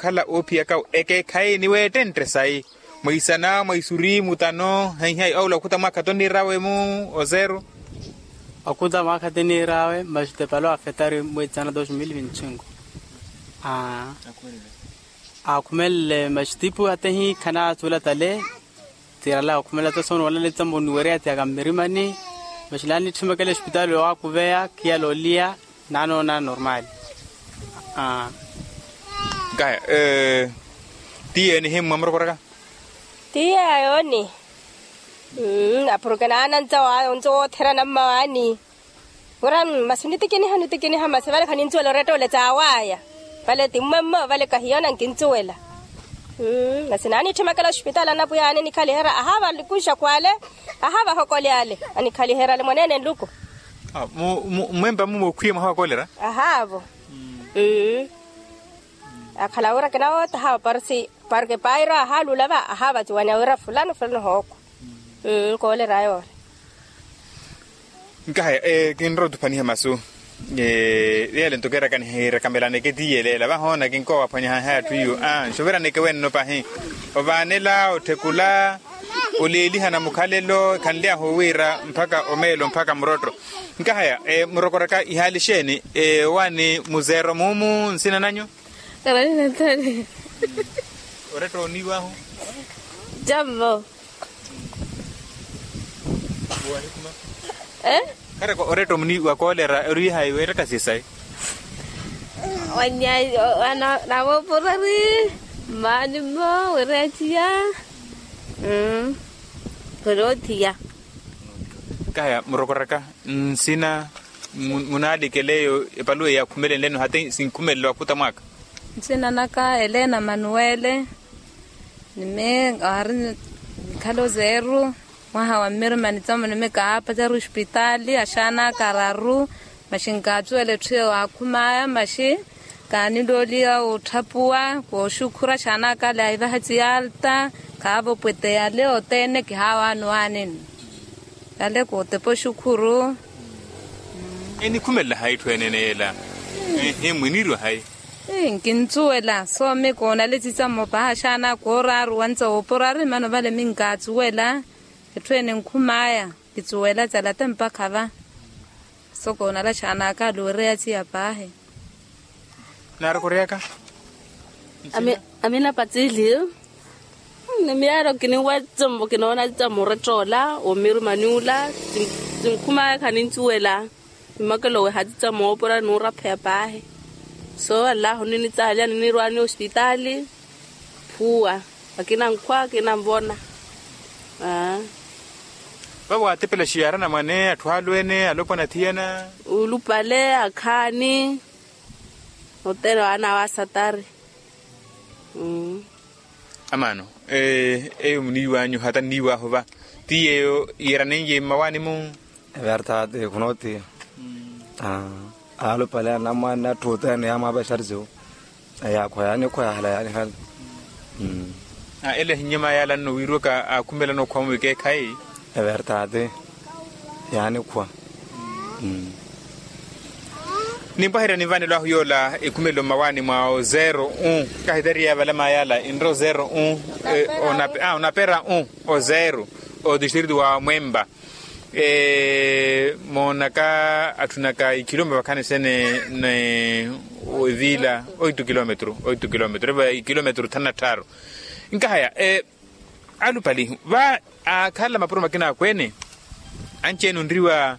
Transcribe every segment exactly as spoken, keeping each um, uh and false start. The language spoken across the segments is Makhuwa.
ookhala oophiyaka ekeekhayi ni weettentte sayi. Mwa isana mwa isuri mutano heihayi ola okhuta mwaakha tonniirawe-mu. Ozero. Okhuta mwaakha tonniirawe masi tepalo afetari mwitsana dos mil vinti cinco. Aa. Aakhumelele masi tipu atehi khanaatula tale. Tiirala okhumela ta soona wala nittambo niwereya tiyaka mmirimani. Masi naanitthimekela esipitaali owaakuveya khiyala oliya. Naanoona normaali. Nkaya. Tiye nihimmwa murokoraka. Tiye ayooni. Apuruke naanantsa waayo ontso wootherana mmawaani. Wira masi nitikiniha nitikiniha masi vale khaninsuwela oretta ole tsaawaya. Vale ti mmwemmo vale kahiyoona nkintsuwela. Masi naanitthimekela ospitaali anapwiya aani nikhaliherya ahaava nluku nxakwale. Ahaava ahokole ale anikhaliherya ale mwaneene nluku. Mmwempa mumwe okhwiye mwaha wa kolera. Ahaavo. Akhala wira kinawoota ahaava parsi parke pairo ahaalula va ahaava aciwanya wira fulano fulano hooko. Nkoolera yoori. Nkahaya kinrowa otuphaniha masu. Yele nto keeraka nihiirakamelaneke ti yeleela vahoona kinkoowa aphwanyaha haya atthu iyo. Nxuveraneke wenno pahi. Ovaanela otthekula oleelihana mukhalelo khanly'ahu wira mpakha omeelo mpakha murotto. Nkahaya murokoraka ihaali exeeni? Owaani muzeero muumu nsina nanyu? Karani natali. Oretta oniiw'ahu. Jambo. Kharaka oretta omuni wa koolera ori hayi weettaka sisayi? Wanya navoopurari mmaani mmo wereya ciya. Kori oothiya. Nkahaya murokoraka nsina. Munaalikeleyo epaluwe yaakhumelenleno hata sinkhumelelo akhuta mwaaka. Nsina naka elena manuwele. Nimi waari nikhala ozeeru mwaha wa mmirima nitsamo nimi kaapacaru ospitaali axaanaka araru. Maxi nkaacuwela etthu eyo waakhumaya maxi kaanilooliya otthapuwa kooxukhura axaanaka ale aivaha eciyalta. Khaava opwete yale othene kihaawaani owaanini. Yale kootepa oxukhuru. Enikhumelela hayi etthu enene yela? Ehe mwiniiriwa hayi? Nkintsuwela soomi koonale cicammo paahi axaana kooraaru wantsa woopurari mano vale minkatsuwela. Etthu ene nkhumaya kitsuwela calate mpakha va. So koonale axaanaka aluwereya ciya paahi. Naarokoryaka. Amina patsili. Ni miyaaro kininwa etsembo kinoona etsembo oretta ola omirumani ula. Sinkhumaya khanintsuwela. Mmakelo weha titsamo oopura nuurapheya paahi. So allahu ninitsaalya ninirwaani ospitaali. Phuwa. Akinankhwa akinanvona. Vavo waatepela xiyara namwane atthu alweene alopwana athiyana. Ulupale akhaani. Othene waana wa satari. Amaano eyo muniiwanyu hata nniiwahu va ti yeeyo yeeranenye mmawaani-mu. Everte ati khunootiya. Alupale anamwaani atthu othene yaamwaapexari siwo. Yaakhwa yaanikhwa yaahala yaanihala. Ele ahinyama yaala nno wiirwaka aakhumelana okhwa-mu ikeekhayi. Everte ati yaanikhwa. Nimpwaherya ninvanelo ahu yoola ekhumelelo mmawaani mwa ozeero u. Kahitariya valama yaala enre ozeero u. Onapera u ozeero. Odistritu wa mwempa. Moonaka atthunaka ikilomita vakhani sene. Ni eviila oitu kilometru oitu kilometru eva ikilometru thanu na tthaaru. Nkahaya alupali va aakhala mapuro makina akweene. Anci-ene onriwa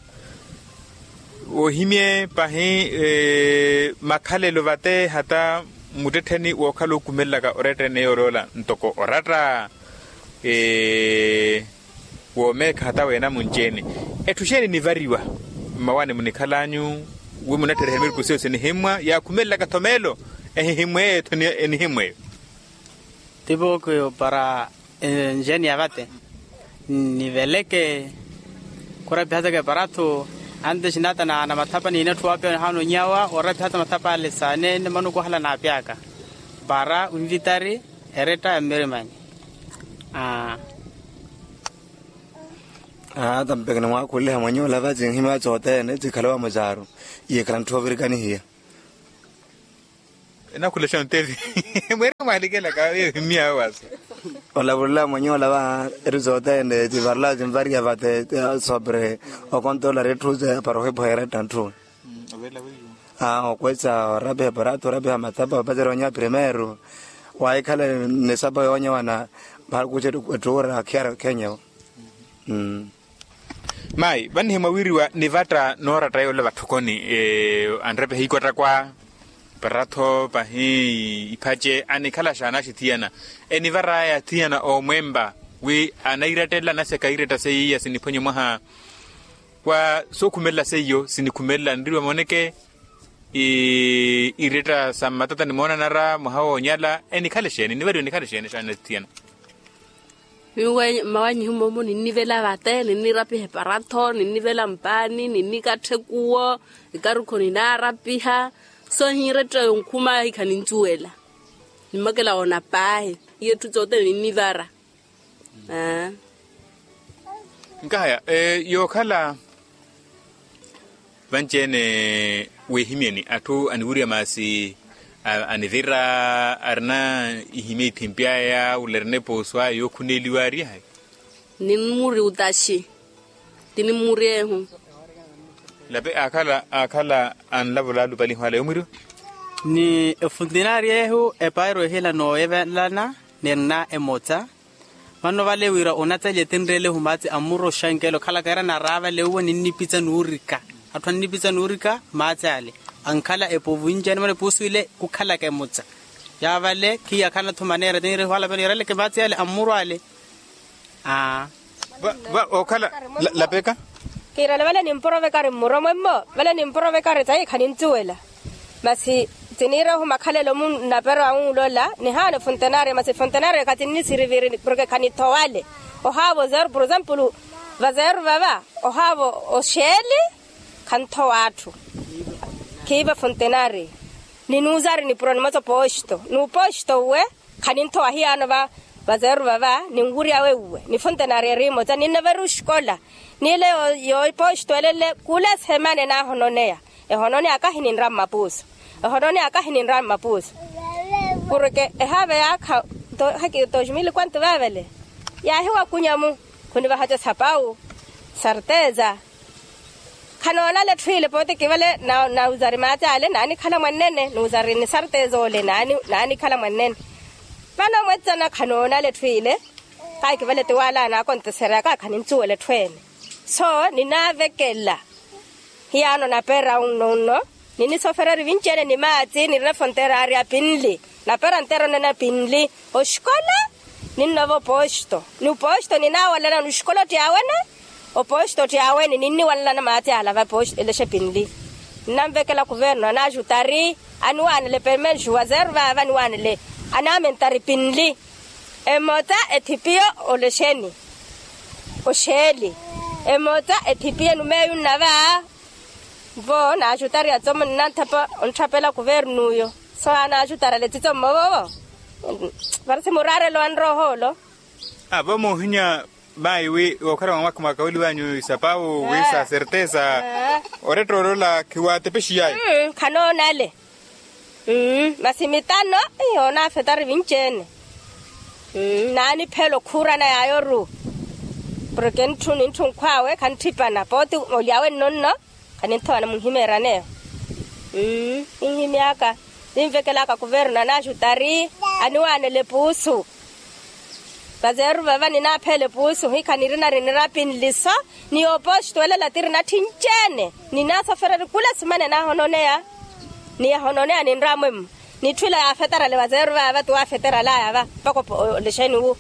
ohimye pahi makhalelo vate hata muttettheni wookhala okumelelaka oratta ene yooloola ntoko oratta woomeekha hata weena munci-ene. Etthu xeeni nivariwa mmawaani munikhal'anyu wi munatthereha emirikhu siyo sinihimmwa yaakhumelelaka-tho meelo ehihimmweyo etthu enihimmweyo. Tipookho para enjeni ya vate niveleke khurapiha teke para atthu anti xinata na mathapa niina etthu waapiya nihaana onyawa orapiha ta mathapa ale saneene manuku ohala naapyaka para onvitari eretta ya mmirimani. Ata mpeke nimwaakhuliha mweny'ola va cinhimya cothene cikhale wa mucaaru iyekhala ntthu ovirikanihiya. Enakhulexa ontevi. Mweri mwalikelaka yohimya wasa. Olavulula mwenye olava etu sothene tivarela tinvariya vate. Sobre okontola retthu para ohiphoyera ettanthu. Okwesa orapiha parato orapiha mathapa opatera onyewa primeiro. Wahikhala ni sapa yoonyewana. Vakuce ettuura khiyara khenyewo. Mayi vannihimwa wiriwa nivatta nooratta yoola vatthokoni. Anrepeha ikwatta kwa paratho pahi iphace anikhala xaanaxi thiyana. Enivaraya thiyana oomwempa wi anairattelela naseka iretta seiya siniphwanye mwaha wa sookhumelela seiyo sinikhumelela nriwa moneke. Iretta sa mmatata nimoonanara mwaha woonyala enikhale xeeni nivariwe nikhale xeeni xaana thiyana. Miwe mmawanyihu momo ninnivela vate ninnirapiha eparatho ninnivela mpaani ninnikattha ekuwo. Ekarukho ninaarapiha so ehinretta yonkhuma ahi khanincuwela. Nimmakela woona paahi. Iye etthu tsothene ninnivara. Nkahaya yookhala vanci-ene weehimyeni atthu aniwiriwa maasi anivira arina ihimya ithimpi aya wula erina epoosu aya yookhuneeliwa ari ahayi. Nimmuri utaxi. Ti nimmuri ehu. Lape aakhala aakhala anlavula alupaliho ala yoomwiriwa. Ni efuntinari ehu epairo ehila nooyevelana nirina emota. Vano vale wira onataliye tinreelehu maati ammuro oxankela okhalaka era naraavale uwe ninnipitsa nuurika. Atthu annipitsa nuurika maati ale ankhala epovu inci animana epuusu ile khukhalaka emutsa. Yaavale khiyakhala-tho maneera tinreelehu ala vano eraleke maati ale ammuro ale. Aa. Okhala lapeka. Kiirale vale nimporovekari mmuromwe mmo vale nimporovekari tayi khanincuwela. Masi tiniira ohu makhalelo mu nnapero awunlola nihaana efuntenaria masi efuntenaria khatinnisiriviri porke khanithowale. Ohaavo zeru por example vazeru vava ohaavo oxeeli. Khanthowa atthu. Khiiva efuntenaria. Ninuuzari nipuro nimotsa opooxito n'upooxito uwe. Khaninthowa hiyaano va vazeru vava ninwurya weuwe nifuntenaria eri imotsa ninnavera oxikola. Niile yoopooxito elele kula esehemani enaahononeya. Ehononeya akahi ninra mmapuuso. Ehononeya akahi ninra mmapuuso. Porke ehaave yaakha dos mil kwantu vaavele. Yaahiwakunya-mu khunivahaca sapawu. Sarteza. Khanoonale etthu ile pooti kivale nauzari maati ale naanikhala mwannene nuuzari ni sarteza ole. Naanikhala mwannene. Vano mwetsana khanoonale etthu ile. Kahi kivale ti waala anaakonteseryaka khanincuwela etthu ene. So ninaavekela. Hiyaano napeera unno unno. Ninisofereri vinci-ene ni maati nirina efonterari apinli. Napeera nterona na pinli. Oxikola ninnova opooxito. Ni opooxito ninaawalana ni oxikola otti awene. Opooxito otti awene ninniwalana maati ala va elexa pinli. Nnanvekela kuvernu anaaxutari aniwaanele permenxu wazeru vaava aniwaanele. Anaamentari pinli. Emota ethipiyo olexeni. Oxeeli. Emota ethipiye numeeyu nnava. Vo naaxutari atsomo nnanthapa ontthapela kuvernuyo. So anaaxutari aletsitso mmovovo. Parisi muraarelo anrohoolo. Avo moohinya. Mayi wi wookhala mwa mwakha mwakaweliwanyu isapawu wi sa serteza. Oretta olola khiwaatepexiyaya. Khanoonale. Masi mitano. Onaafetari vinci-ene. Naaniphela okhuurana yaayoru. Porke ntthu ni ntthu nkhwaawe khantthipana pooti olyawe nnonno. Khaninthowana munhimeeraneyo. Ninhimyaka. Ninvekelaka kuvernu anaaxutari aniwaanela epuusu. Vazeeru vava ninaaphela epuusu hikha nirinari nirapinliso. Ni yoopoxito elela tiri natthi nci-ene. Ninaasofereri kula simana enaahononeya. Ni yahononeya ninramwemmo. Nitthu ila yaafetarale vazeeru vava ti waafetaralaya va mpaka olexeni wu.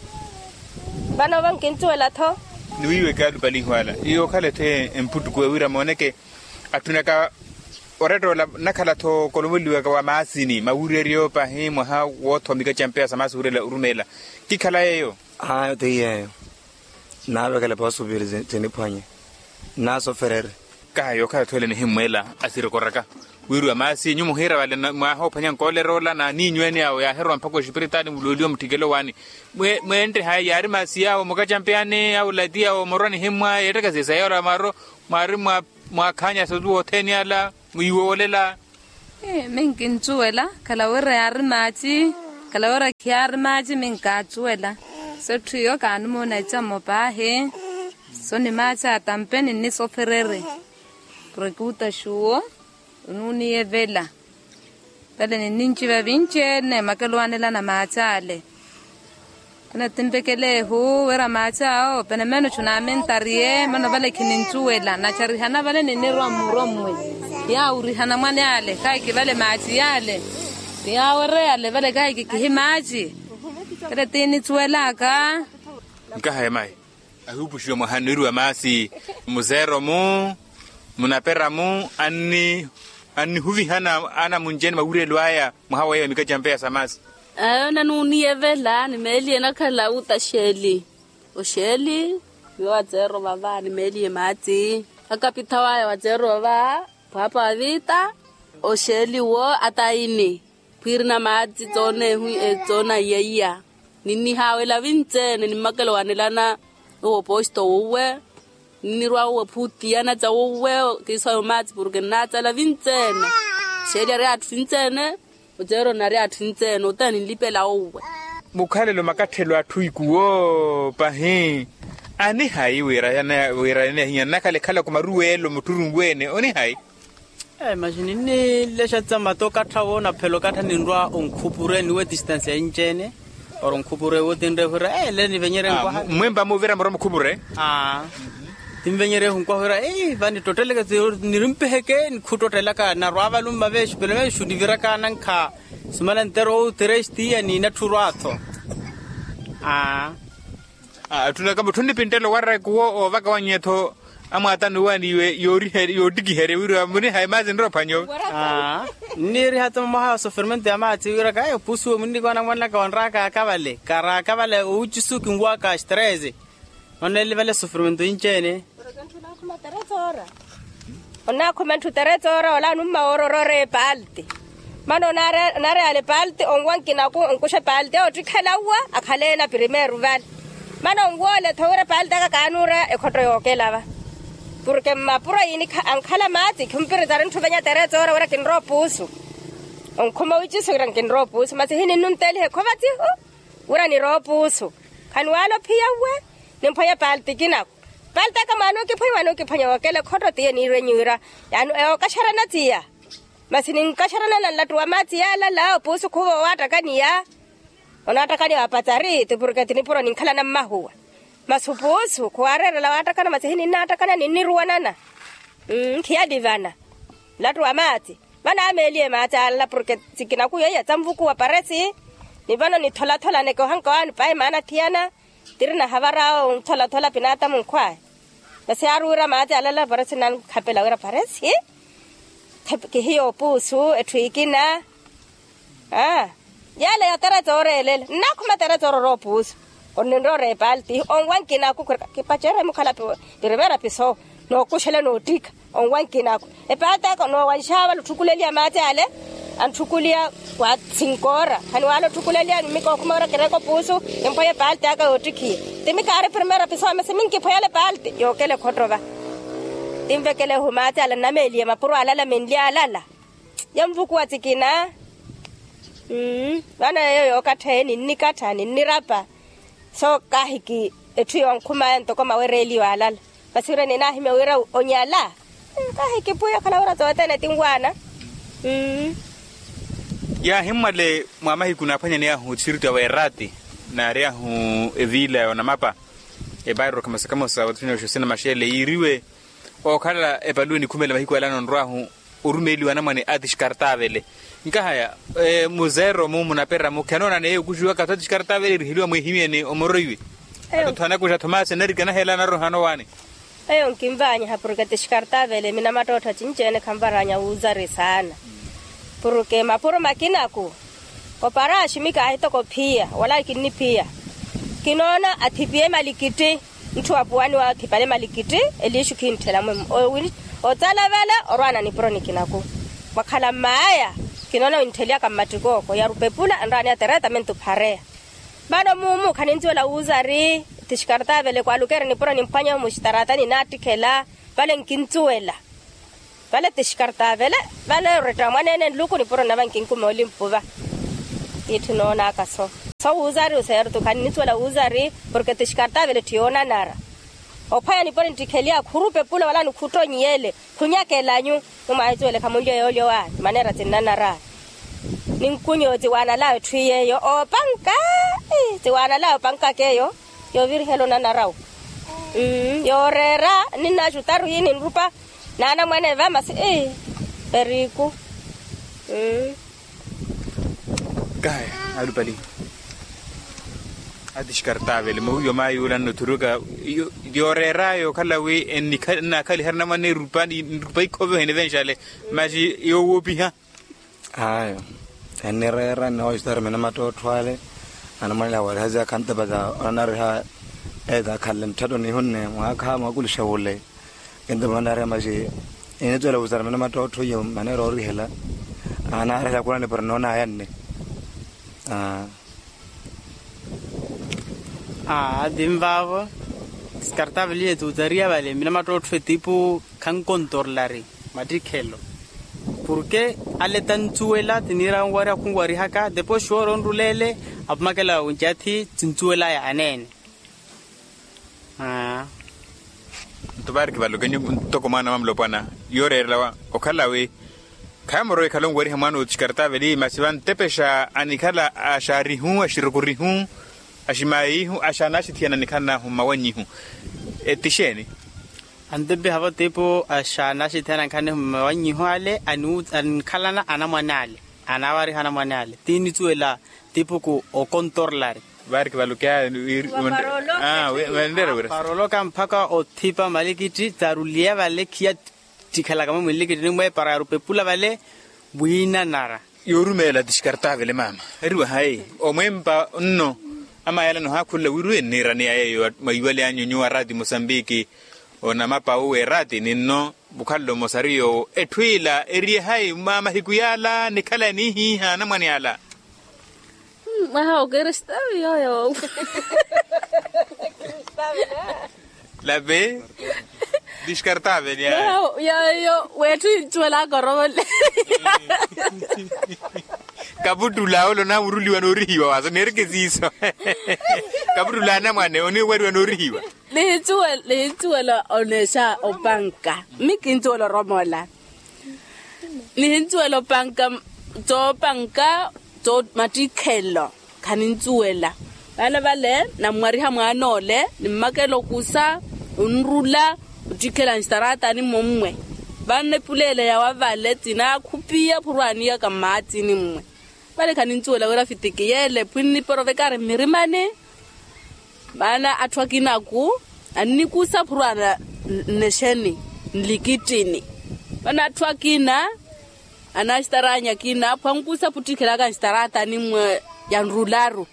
Vano vo nkincuwela-tho. Niwiiweke alupaliho ala iyookhala-tho emputtuku ewira mooneke. Atthunaka oretta ola nnakhala-tho okolomoliwaka wa maasini mawureryo pahi mwaha woothowa mikaci ya mpeya sa maasi wurela orumeela. Kikhala yeeyo. Ayo ti yeeyo. Nnaavekela poosupiri tiniphwanye. Nnaasofereri. Kaha yookhala-tho ele nihimmweela asirekoraka. Wiriwa maasi nyuwo muhiira vale mwaaha oophwanya nkoolera ola na niinyu ene awo yaahirowa mpakha oxipiritaali mulooliwa mutthikelo waani. Mweentte haya yaari maasi yaawo mukacampeyani awo lati awo morwa nihimmwa yeettekesisa yoora mwaari mwaakhaanyasa otuwa othene ala mwiiwoolela. Minkincuwela khala wira yaari maaci. Kala wira khiyaari maaci minkaacuwela. So etthu iyo kaanimuuna ecammo paahi. So ni maaci atampe ninnisofereri. Porke utaxuwo onuuniyevela. Vale ninninciva vinci-ene makeluwanelana maaci ale. Vale tinvekelehu wira maaci awo penemeno chunaamintariye mano vale khinincuwela nacha rihana vale ninnirwa mmurwa mmwe. Yaawurihana mwane ale kahi kivale maaci yale. Yaawereyale vale kahi kikihi maaci. Vale tiinicuwelaka. Nkaha emayi ahuupuxiwa mwahani wiriwa maasi. Muzeero-mu munapera-mu annihuvihana anamunci-ene mawirelo aya mwaha weyo mikacampeya sa maasi. Ayo nanuuniyevela ni meeli enakhala uta xeeli. Oxeeli miyo wazeero vava ni meeli emaati akapitha waya wazeero vava. Pwaapa wa viita oxeeli wo ataini. Phwiirina maati toonehu. Toonaiyeiya ninnihaawela vinci-ene nimmakelo wanelana. Owo opoosto wuwe ninnirwa wuwe phuutiyana ca wuwe. Kiiso ayo maati porke nnaacala vinci-ene. Xeeli ari atthu vinci-ene. Oceero nari atthu vinci-ene ote ninlipela wuwe. Mukhalelo makatthelo atthu ikuwo pahi. Anihayi wira yaneehinya nnakhala ekhalako maruwelo mutthurunwe-ene onihayi. Masi ninnilexa tsa mata okattha wo naphela okattha ninrwa onkhupure niwe distansi ya inci-ene. Oro nkhupure wo tinrehe wira ele nivenyerye nkwaha. Mmwempa muvira murwa mukhupure. Tinvenyerye ehu nkwaha wira vanittotteleke nirimpeheke nikhuttottelaka narwa valumma vexu pelo vexu niviraka nankha. Sumala nteru ou trestiya ni natthurwa-tho. Aa. Atthunaka mutthu nnipinttela owaraka owo oovaka wannye-tho. Amwaata nuwaaniwe yoottikiherya wira munihayi maasi nrophwanyo. Aa. Nniiriha-tho mwaha wa sofirmento ya maasi wiraka ayo puusuwe munnikoona mwanaka wanraaka akavale karaaka vale owucisu kinwaka strese. Onneele vale sofirmento inci-ene. Onnakhuma ntthu teretsora ola anumma woororoora epalti. Mana onaari ale palti onwa nkinaku onkuxa palti oottikhela uwa akhaleena primeiro vale. Mana onwoola etho wira palti aka kaanuura ekhotto yookelava. Porke mmapuro yiinikha ankhala maati khimpiritari ntthu venya teretsora wira kinrowa opuusu. Onkhuma wici sira nkinrowa opuusu masi hininnuntelihe khovatsihu. Wira nirowa opuusu. Khaniwaala ophiya uwe. Nimphwanya palti kinaku. Palti aka mwaana okiphwanya mwaana okiphwanya wookela ekhotto tiye niirwenyi wira yaani ewokaxarana tiya. Masi ninkaxarana na nlattu wa maati yaalala opuusu khuva owaattakaniya. Onaattakaniya wa patsari ti porke ti nipuro ninkhalana mmahuwa. Masi opuusu khuwaareerela waattakana masi hininnaattakana ninniruwanana. Nkhiyalivana. Nlattu wa maati. Vanameeliye maati alala porke tsikinaku yeiya tsanvukuwa paresi. Ni vano nitholatholanekehanka waani pahi maana thiyana. Tiri nahavara awo ntholathola pinaatamu nkhwaya. Masi aari wira maati alala paresi nankhapela wira paresi. Kihiya opuusu etthu ikina. Aa. Yale ya teretse ooreelela nnakhuma teretse ororowa opuusu. Onninroora epalti onwa nkinaku kipacerye mukhala. Pirivera piso nookuxela noottikha. Onwa nkinaku. Epalti aka noowanxawa vala otthukuleliya maati ale. Antthukuliya wa sinkoora khaniwaala otthukuleliya nimikookhuma wira kireeka opuusu. Kimphwanya epalti aka yoottikhiya. Ti mikaari primeiro piso masi minkiphwanyala epalti yookela ekhotto va. Tinvekelehu maati ale nnameeliye mapuro alala menli alala. Yanvukuwa tsikina. Vano yeeyo yookattheya ninnikattha ninnirapa. So kaahiki etthu yoonkhumaaya ntoko mawereeliwa alala. Masi wira ninaahimya wira onyala. Kaahiki pwiya okhala wira tsothene tinwaana. Yaahimmwale mwa mahiku naaphwanyaneyahu txiriti aweerati. Naary'ahu eviila ya onamapa. Epairo kamosa kamosa wathunyaxu sina maxeele yiiriwe. Ookhala epaluwe nikhumela mahiku ala anonrw'ahu orumeeliwa anamwane a tixkartavele. Nkahaya muzeero-mu munapera-mu khanoona neeyo okuxiwaka athu a tixkartavele eriheliwa mweehimyeni omoroiwe. Atotho anakuxa thomasi anarikana hela anarohano waani. Eyo nkinvaanyiha porke tixkartavele minamattoottho cinci-ene khanvaraanya wuuzari saana. Porke mapuro makinaku oparaxi mikaahitoko ophiya wala kinniphiya. Kinoona athipiye malikitti. Ntthu wa puwani waathipale malikitti eliixu khintthela mwemmo. Otsala vale orwaana nipuro nikinaku. Mwakhala mmaaya kinoona winttheliyaka mmattikoko yarupepula enraani ya teretamentu phareya. Vano muumu khanincuwela wuuzari. Tixkartavele kwaalukeera nipuro nimphwanyeho muxitaratani naattikhela. Vale nkincuwela. Vale tixkartavele. Vale oretta mwaneene nluku nipuro nava nkinkume olimpuva. Itthu noonaka so so wuuzari oseerutu khanni nisuwela wuuzari. Porke ti xikartaavele ttiyoonanara ophwaya niponi nttikheliya khurupepula wala nikhuttonyiyele khunyakelanyu. Mumwahisuwele khamunlyo yoolyowa maneera tsinnanara. Ninkunyo tsiwaanalaya etthu yeeyo oopanka. Tsiwaanalaya opankaka eyo yoovirihela onanarawu. Yooreera ninnaxutaru hii ninrupa naanamwane vamasi. Ii. Eriiku. Kahi alupali ati xikartaavele mawiiwa maayuula nnothuruka. Yooreeraya okhala wi ennaakhaliherya namwane erupa nrupa ikhoviha enivenxale. Masi yoowoopiha. Ayo ennireera nnihoxitari mina mattottho ale. Anamwanela wariha ziyakha ntapa za onanariha eza akhanle mutthatu nihunne mwaakha mwakulixa wule. Kintumanariha maxi enitwela wusara mene mattottho iyo maneera orihela. Anaarihela khulani pari noonaya nne. Aa. Aa tinvaavo sikartaveliye tuutariya vale mina mattottho etipu khankontorlari mattikhelo. Porke ale tantsuwela tiniira onwariha khunwarihaka depois xoora onruleele apumakela oncathi tintsuwelaya aneene. Nto vaari kivalokenyu ntoko mwaana wa mulopwana yooreerela wa okhala wi khaya morowa ekhala onwariha mwaana otixikartaveli masi vantepexa anikhala axaarihu axirukurihu aximaayihu axaanaxithiyana nikhala nahu mmawannyihu. Eti xeeni? Antepexa vatipo axaanaxithiyana nikhala nahu mmawannyihu ale anikhalana anamwane ale anaawariha anamwane ale tinitsuwela tipuku okontorlari. Vaari kivalokeya paroloka mpakha othipa malikitti taruliya vale khiya ttikhelaka mwe mwilikittinimwe para yarupepula vale. Wiinanara. Yoorumeela ti xikartavele maama eriwa hayi omwempa nno. Amayalani ohaakhulula wiriwe nniiraniya yeeyo mwayiwale anyu nyuwo araati musambiki onamapa uwe eraati ninno mukhalelo mmosa ari yoowo etthu ila eriye hayi mwa mahiku yaala nikhala eniihiiha anamwane ala. Mwaha okristavi yooyo. Lape diskartaveli ayo. Yooyo weetthu yincuwelaka orovole. Kaputtula ole onaamuruliwa noorihiwa waaso neereke siiso. Kaputtula anamwane oniwariwa noorihiwa. Nihincuwela oneexa opanka mmi kincuwela oromola. Nihincuwela opanka toopanka mattikhelo. Khanincuwela vale vale nammwariha mwaan'ole nimmakela okusa onrula ottikhela nxitaratani mommwe. Vanna epuleele yawa vale tinaakhupiya phurwaaniyaka mmaatsini mmwe. Vale khanincuwela wira fitiki yeele phwinniporovekari mmirimani. Maana atthu akinaku annikusa phurwaana nnexeni nlikittini. Maana atthu akina anaaxitaraanyi akina phwankusa phuttikhelaka nxitaraatani mmwe yanrularu.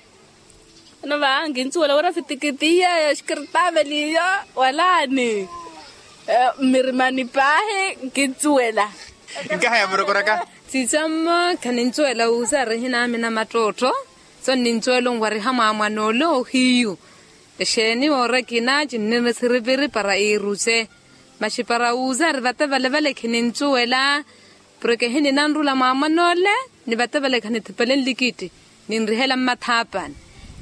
Vano va nkincuwela wira fitikitiya xikartaveliyo walaani mmirimani paahi nkincuwela. Nkaha yamurokoraka. Sicammo khanincuwela wuuza arihina amina mattottho. So nnincuwela onwariha mwaamwan'ole ohiyu. Exeeni woora ekina cinnirina esiripiri para iiruce. Maxi para wuuza ari vate vale vale khinintsuwela. Porke ehinina nrula mwaamwan'ole ni vate vale khanithipele nlikitti. Ninrihela mmathaapani.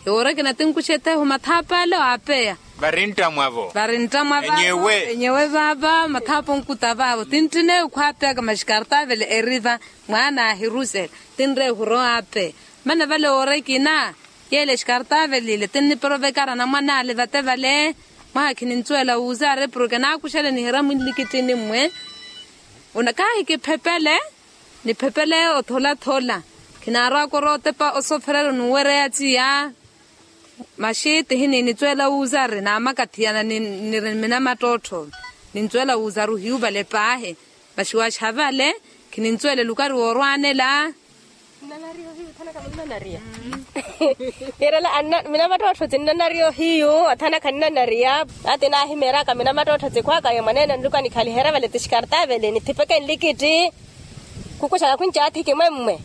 Ewoora ekina tinkuxa etheehu mathaapale waapeya. Vari nttamwavo. Vari nttamwavo. Enyewe vaava mathaapa onkuta vaavo tinttine ekhwaapeyaka maxi kartaavele eriva. Mwaana ahirusela tinreehu rowa apeya. Mane vale woora ekina yeele xikartavelile tinniperovekara anamwane ale vate vale. Mwaha khinintsuwela wuuza ari porke naakuxele nihira mwinlikittini mmwe. Kahi kiphepele niphepele otholathola. Khinaarowa korowa otepa osoofererya onuwereya aciya. Maxi tihi niinitsuwela wuuza ari naamakathiyana niri mina mattottho. Nintsuwela wuuza ari ohiyu vale paahi. Maxi waxavale khinintsuwela elukari woorwaanela. Yeerela mina mattottho tinnanariya ohiyu. Athana khananariya. Ati naahimeeraka mina mattottho tikhwaka yo mwaneene nluka nikhaliherya vale ti xikartaavele nithipeke nlikitti. Khukuxaka khunci athiki mwe mmwe.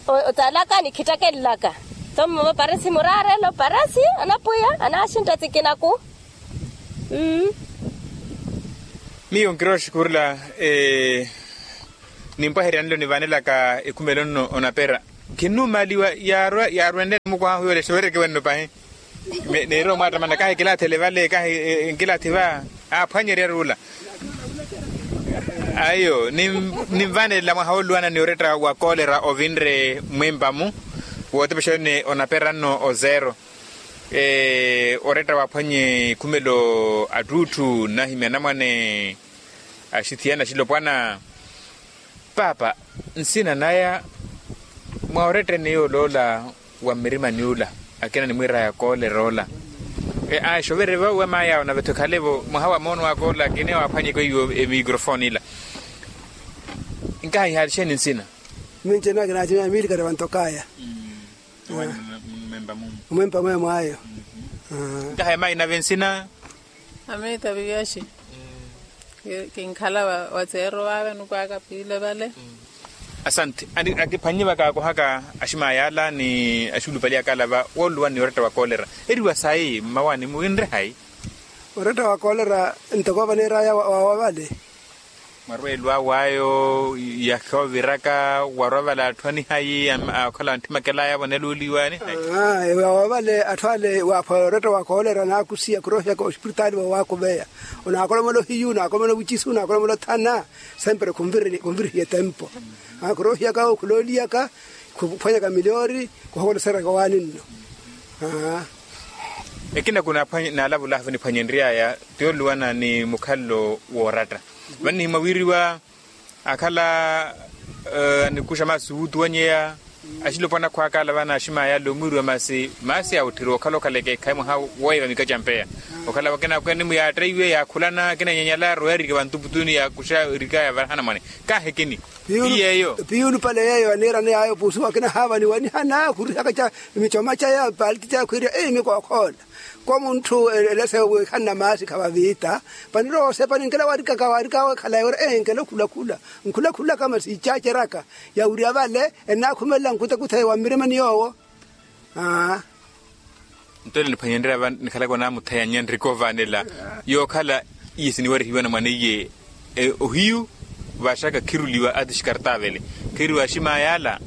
Otsalaka nikhittakelelaka. Tho mmovo parisi muraarelo parisi anapwiya anaaxintta tsikinaku. Miyo nkirowa oxikhurula. Nimpwaherya nlo nivanelaka ekhumelo nno onapera. Khinnumaliwa yaarwenle mukwaha huyo ole sowereke wenno pahi. Neeri omwaattamana kahi kilathele vale kahi nkilathi va. Aaphwanyeryerye ula. Ayo ninvanelela mwaha wooluwana ni oretta wa koolera ovinre mwimpa-mu. Wootepexani onapera nno ozero. Oretta waaphwanye khumelo attuutthu nnahimya anamwane. Axithiyana axilopwana. Paapa nsina naya mwa oretteni yoola ola wa mmirimani ula. Akina nimwiiraya koolera ola. Aa exovere va we maay'awe nave-tho ekhale-vo mwaha wa moono aka ola akina waaphwanyeke weiwo emikrofoni ila. Nkaha ihaali exeeni nsina? Minci enakina aximya miilikari vantok'aya. Omwempa mwemw'ayo. Nkaha emayi nave nsina? Amiita viviaxi. Kinkhala wateero vave nukwaka piile vale. Asante. Akiphwannye vakaakohaka aximaya ala ni axulupali aka ala va wooluwani oretta wa koolera. Eriwa sayi mmawani muwinre hayi? Oretta wa koolera ntoko vaneeraya wawa vale. Mwarweelw'awe ayo yakhooviraka warwa vale atthu anihayi. Okhala wanthimakel'aya voneluuliwa anihayi. Wawa vale atthu ale waaphwaya oretta wa koolera anaakusiya khuroohiyaka ospiritaali voowakuveya. Onaakolomela ohiyu onaakolomela ovicisu onaakolomela othana. Sempre khunvirihiya etempo. Khuroohiyaka owo khulooliyaka khuphwanyaka miliyoori. Khuhokoleseryaka owaani nno. Ekina kunaalavul'ahu vaniphwanyenry'aya ti oluwana ni mukhalelo w'oratta. Vannihimwa wiiriwa akhala anikuxa maasi wuutuwanyeya. Axilopwana akhw'aka ala vana aximaya ala omwiiriwa masi masi awutthiri okhala okhaleke ekhayi mwaha woiva mikaca mpeya. Okhala vakina akweni muyaatteiwe yaakhulana akina nyanyala arowa erike vantuputuni yaakuxa erikaya varahana mwane. Kaahekini. Piyuulu pale yeeyo aniirani yaayo puusuwa akina haava niwanihana khurihaka ca micoma caya paaliti caya khwiiriya eyi mikookhola. Koomunthu elese wiikhanna maasi khavaviita. Paniroosepa ninkela waarikaka waarikaka wekhalayi wira enkela okhulakhula. Nkhulakhulaka masi icaceraka yawirya vale ennaakhumelela nkutakutha wa mmirimani yoowo. Aa. Nto ele niphwanyenrya va nikhalaka onaamuthayanya nriko ovaanela yookhala iye siniwarihiwa na mwaneiye. Ohiyu vaxaka khiruliwa ati xikartavele khiriwa aximaya ala.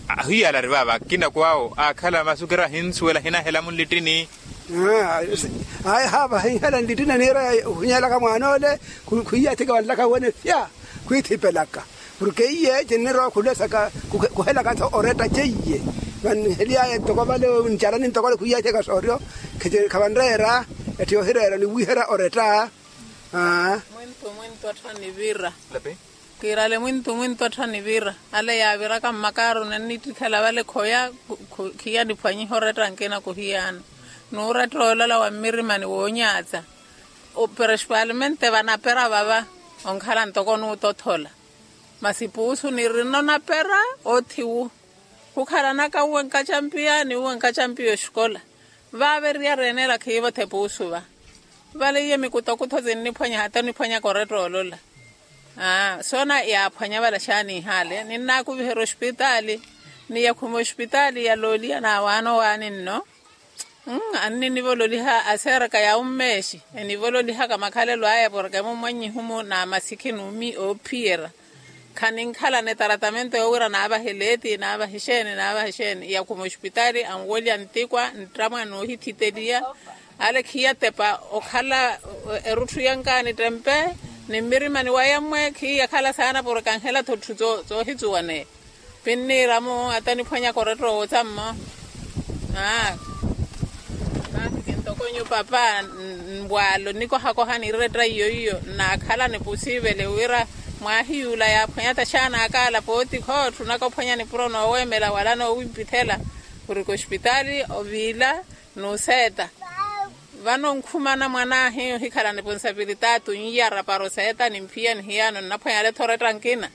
Ahiyu ala ari vaava akina kwaawo aakhala masukira ahinsuwela ahinahela munlittini. Ayi haava ahinhela nlittini aniira ohinyelaka mwaan'ole. Khwiiyathika vanlaka wene fya khwiithipelaka. Porke iye cinnirowa khulesaka kuhelaka-tho oretta ceiye. Vannihely'aya ntoko vale ncalani ntoko ale khwiiyatheka sooryo. Khavanreera etti yohireera ni wiihera oretta. Mwintu mwintu atthu anivira. Kiirale mwintu mwintu atthu anivira ale yaaviraka mmakaaro nennittikhela vale khoya. Khiya niphwanyiha oretta nkina khuhiyaana. N'uretta olola wa mmirimani woonyatsa. Principalmente vanapera vava onkhala ntoko onuutothola. Masi puusu nirina onapera oothiwu. Khukhalanaka uwe nkacampiya ni uwe nkacampiya oxikola. Vaava eriyari eneela khiivothe puusu va. Vale iye mikutakutho sinniphwanya hata oniphwanyaka oretta olola. Aa soona yaaphwanya vale xaaniihaale ninnaakuviherya ospitaali. Ni yakhuma ospitaali yalooliya naawaana owaani nno. Anni enivololiha aserka ya ummeexi. Enivololihaka makhalelo aya porke mummwannyihumu n'amasikhi n'umi oophiyerya. Khaninkhalana etaratamento yoowira naavahe leeti naavahe exeeni naavahe exeeni yakhuma ospitaali anwolya ntikwa nttamwa noohithiteliya. Ale khiyatepa okhala erutthu yankaani ttempe. Ni mmirimani waya mmwe khiyakhala saana porke anhela-tho etthu zoohitsuwaneya. Pinniiramu ata niphwanyaka oretta owootha mmo. Aa. Kahi kintokonyo papa nwaalo nikohakoha ni retta iyo iyo nnaakhala nipusiivele wira mwaahiyuula yaaphwanya taxaana akaala pooti khootthunaka ophwanya nipuro nooweemela wala noowimpithela. Orika ospitaali oviila n'useeta. Vano nkhumana mwanaahi ohikhala niponsapilitaatu nyiyara para oseeta nimphiya nihiyaano nnaphwanya ale-tho oretta nkina.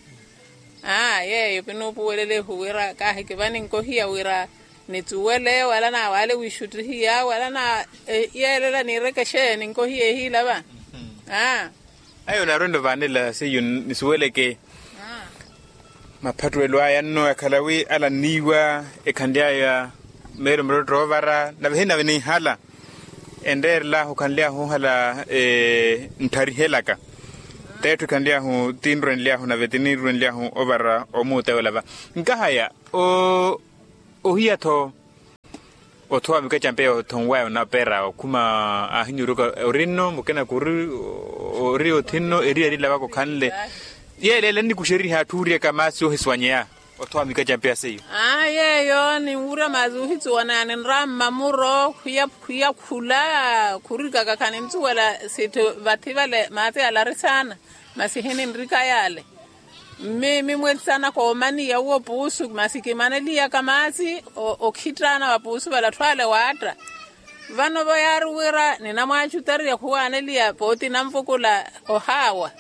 Aa yeeyo pinuupuwelelehu wira kaahikivani nkohiya wira nitsuwele wala naawaale wiixuttihiya wala na yeelela niireke exeeni nkohiya ehiila va. Aa. Ayo naarwenda ovaanela seiyo nisuweleke. Maphattuwelo aya nno yakhala wi ala nniiwa ekhanly'aya meelo muttottho oovara nave hinnave ninhala. Enreerel'ahu khanly'ahu ohala nttarihelaka. T'etthu ekhanly'ahu tinrwenly'ahu nave tinirwenly'ahu ovara omuutewela va. Nkahaya Ohiya-tho. Othowa mikacampe yothonwaya onapera okhuma ahinyuruka ori nno mukina kuri ori othinno eri yarilavaka okhanle. Yeeleela nnikuxeriha atthu oriyaka maasi ohisuwanyeya. Othowa mikacampe ya seiyo. Aa yeeyo ninwurya maasi ohisuwanyeya ninrawa mmamuro khwiyakhula khurikaka khaninsuwela sitthu vathi vale maasi yalari saana. Masi hininrika yale. Mmi mimwetsana koomaniya uwo puusu masi kimaneliyaka maasi okhittaana wa puusu vale atthu ale waatta. Vano vo yaari wira ninamwaacutariya khuwaaneliya pooti nanvukula ohaawa.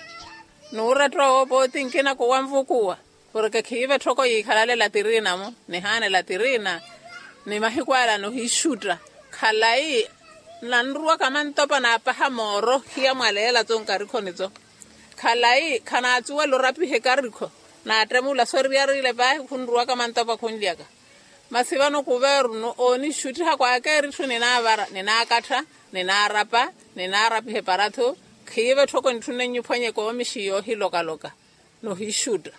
Nuurettowa wo pooti nkina kuwanvukuwa. Porke khiive etthoko yiikhalale latirina-mo nihaane latirina. Ni mahiku ala nohiixutta khalayi. Nanruwaka mantopa naapaha mooro hiya mwaleela-tso nkarikhoni-tso. Khalayi khanaatsuwela orapiha ekarikho. Naattemu ola soriyariile paahi khunruwaka mantopa khunlyaka. Masi vano kuvernu oonixuttiha kwaakeeritthu ninaavara ninaakattha ninaarapa ninaarapiha eparathu. Khiive etthoko nitthunne nyiphwanye koomishi yoohilokaloka. Nohixutta.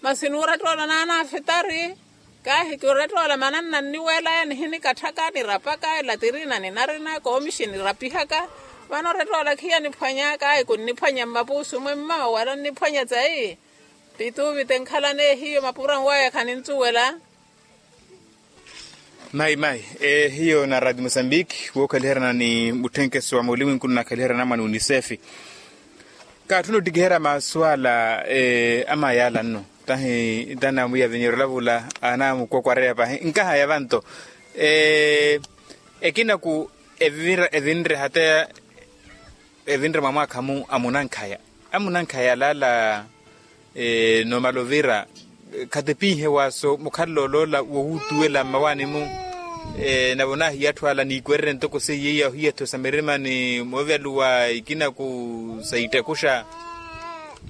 Masi nuurettoola naanaafitari. Kaahi kirettoola mananna nniweelaya nihinikatthaka nirapaka elatirina ninarina koomishi nirapihaka. Vano orettoola khiya niphwanya kaahi kunniphwanya mmapuusu mwemma wala nniphwanya tsayi. Tituuvite nkhalane hiyo mapura nwaya khaninsuwela. Mayi mayi. Hiyo na radio mosambiki wookhaliherana ni mutthenkeso wa muliwinku nnakhaliherana mwa ni unisefi. Kaatthuna ottikiherya maasu ala. Amayi ala nno tahi tanamwiya vinyeryo olavula anamukwakwareya pahi nkahaya vanto. Ekinaku evinre hata evinre mwa mwaakha-mu amunankhaya amunankhaya alaala. Nomala ovira khatipinhe waaso mukhalala oloola wowuutuwela mmawaani-mu. Nave onaahiya atthu ala niikwererye ntoko seiya iya ohiya-tho sa mirima ni moovyaluwa ikinaku sa ittekhuxa.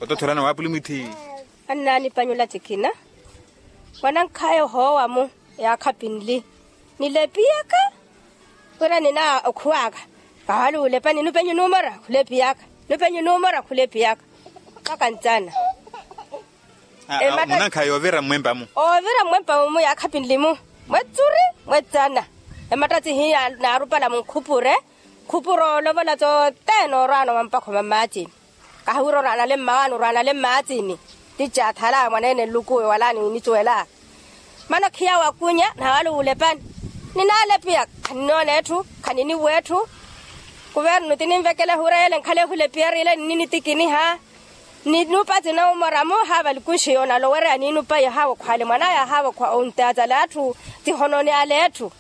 Otothorana waapuli mwithi. Annaanipanyula tikina. Mwanankhaya ohoowa-mu yaakhapi nli nilepiyaka. Wira nina okhuwaka. Kahali wulepani nupenyu numora khulepiyaka. Nupenyu numora khulepiyaka. Mpaka ntsana. Munankhaya oovira mmwempa-mu. Oovira mmwempa-mu yaakhapi nli-mu. Mwetsuri mwetsana. Emattatsi hiya naarupala munkhupure. Khupure olovola tsothene orwaana omampakho mamatsini. Kahiwira orwaanale mmawaani orwaanale mmaatsini. Ticha athala mwaneene nlukuwe wala niinisuwela. Mana khiya wakunya na wala wulepani. Ninalepiya khaninoona etthu khaniniwa etthu. Kuvernu tininvekela ehura yele nkhale ehulepiya riile nininitikiniha. Ninupa tinaumora-mu haava likuxi yoona alowereya niinupa yahaawa okhwale mwanaya ahaava okhwa ontaatale atthu. Tihonooni ale etthu.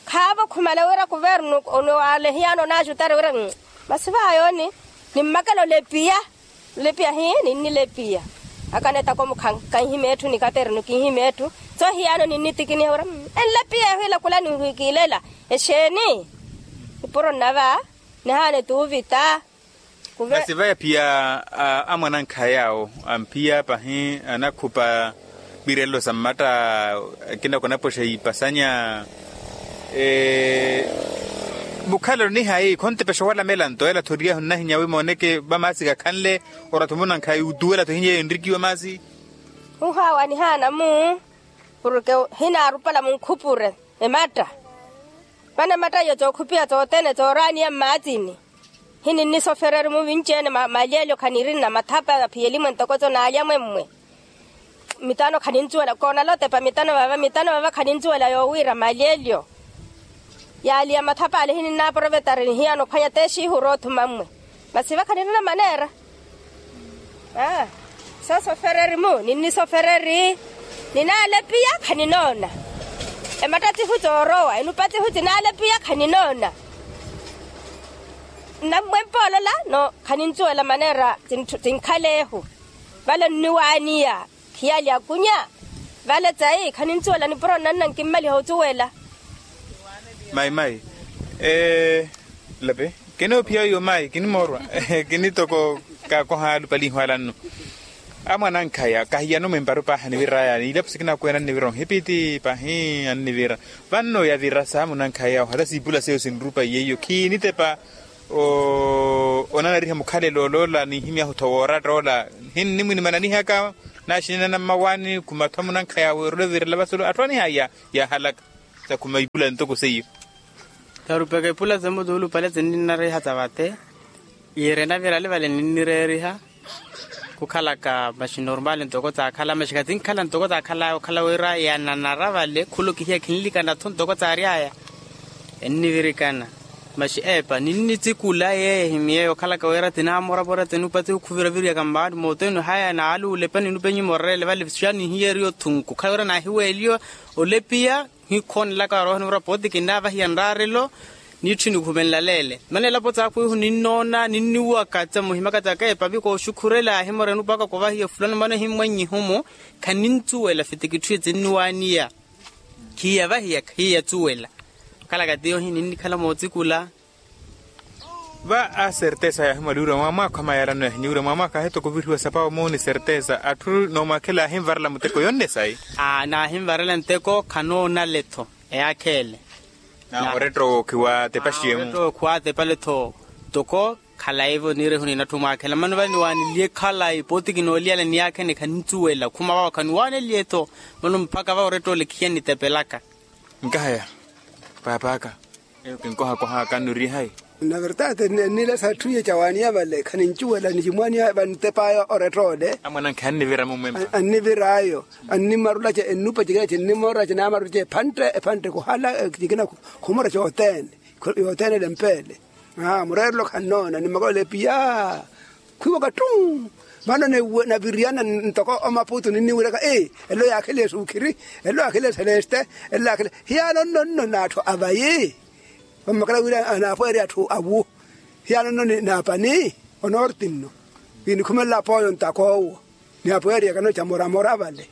Khaavo khumale wira kuvernu oniwalehiyaano onaaxutari wira. Masi vaayooni nimmakela olepiya. Olepiya hii ninnilepiya. Akanetako mukhankanhime etthu nikaterenu kinhime etthu. Tsohiyaano ninnitikiniha wira enlepiya ehwiila khula ninhwikiilela. Exeeni. Nipuro nnava nihaana etuuvita. Masi vaya phiya amwanankhaya awo amphiya pahi anakhupa. Mirelelo sa mmatta akina khunapoxa ipasanya. Mukhalelo nihayi khontepexa owalamela nto ela thoriyahu nnahinya wi mooneke vamaasi kakhanle. Oratthu munankhaya utuwela tho hinya eyo enrikiwa maasi. Uhaawa nihaana-mu. Porke hinaarupala munkhupure ematta. Vano ematta iyo tsookhupiha tsothene tsooraniya mmaatsini. Hininnisofereri muvinci-ene malyelyo khanirina mathapa aphiyeli-mwe ntoko tso naalya-mwe mmwe. Mitano khaninsuwela koonala otepa mitano vava mitano vava khaninsuwela yoowiira malyelyo. Yaaliya mathapa ale hininnaaporovetari nihiyana ophwanya texihu oroothuma mmwe. Masi vakha nirina maneera. Aa soosofereri-mu ninnisofereri. Ninaalepiya khaninoona. Emattatsihu tsoorowa enupatsihu tinaalepiya khaninoona. Nnammwempa olola no khaninsuwela maneera. Tinkhaleehu vale nniwaaniya. Khiyali akunya vale tsayi khaninsuwela nipuro nnanna nkimmaliha osuwela. Mayi mayi. Lapi kinoophiya oyo mayi kinimoorwa. Kinitoko kakoha alupalihu ala nno. Amwanankhaya kahiyano mwempari pahi aniviraya ilapo sikina akwene annivira onhipiti pahi annivira. Vanno yavira sa munankhaya ohala siipula seyo sinrupaiye iyo khiinitepa. Onanariha mukhalelo oloola ninhimyahu tho wooratta ola. Hinnimwinimananihaka. Naxinana mmawaani khumattho munankhaya wirula ovirela vasulu atthu anihaya yaahalaka. Sakhuma ipula ntoko seiyo. Tarupeka ipula semutuulupale sinninnariha savate. Yiire navirali vale ninnireeriha khukhalaka maxi normal ntoko taakhala maxi khatinkhala ntoko taakhala okhala wira yananara vale khulukihiya khinlikanatho ntoko taaryaya. Ennivirikana maxi eepa ninnitsikula yeeya ehimyeeya okhalaka wira tinaamorapora tinupati okhuviraviriaka mmaani mooteni haya naaluula epa ninupenyi morerele vale xa nihiyeriyo thunku khala wira naahiweeliwa olepiya. Hikhonelaka warooha nivura pooti kinnaavahiya nraarelo. Niitthu nikhumenlaleele mana elapo tsaakhu ihu ninnoona ninniwaka tsa muhimaka tsaka epavi kooxukhurela ahimoreni opaka kovahiya fulano mana ehimmwannyihumu. Khanintsuwela fitikitthu etinniwaaniya khiiyavahiya khiiyatsuwela. Khalaka tiyo hininnikhala mootsikula. Va a sertesa yaahimwaliwira mwaamwaakho amayarano yaahiniwira mwaamwaakho ahetoko ovirihiwa sapawo muuni sertesa atthu noomwakhela aahimvarela muteko yonne sayi. Aa naahinvarela nteko khanoonale-tho eyaakheele. Na oretta owo khiwaatepaxiye-mu oretta owo khiwaatepaletho. Toko khalayi-vo niirehu ninatthu mwaakhela mano vale niwaaneliye khalayi pooti kinooliyala niyaakhene khanintsuwela khuma vawo khaniwaaneliye-tho. Mano mpakha vawo oretta ole khiya nitepelaka. Nkahaya paap'aka eyo kinkohakoh'aka nnurihayi. Na vertade ennilesa etthu iye cawaaniya vale khanincuwela nicimwaaniya vantep'aya oretta ole. Amwanankhe annivira mumwempa. Annivir'ayo annimarulace ennupacikinace ennimorerace naamarulace ephantte ephantte khuhala cikina khumura cothene. Yothene elempeele. Mureerelo khannoona nimmakolela epiya. Khwiiwaka ttu. Vano naviriyana ntoko omaputu ninniwiraka elo yaakheliye suukhiri. Elo yaakheliye seleste. Elo yaakheliye hiyaano nno nno n'atthu avayi. Vammakela wira anaapweerya atthu awu. Hiyaano nno ni naapani onorti nno. Kinikhumelela apooyo ntaka owo. Ni apweerya kano camoramora vale.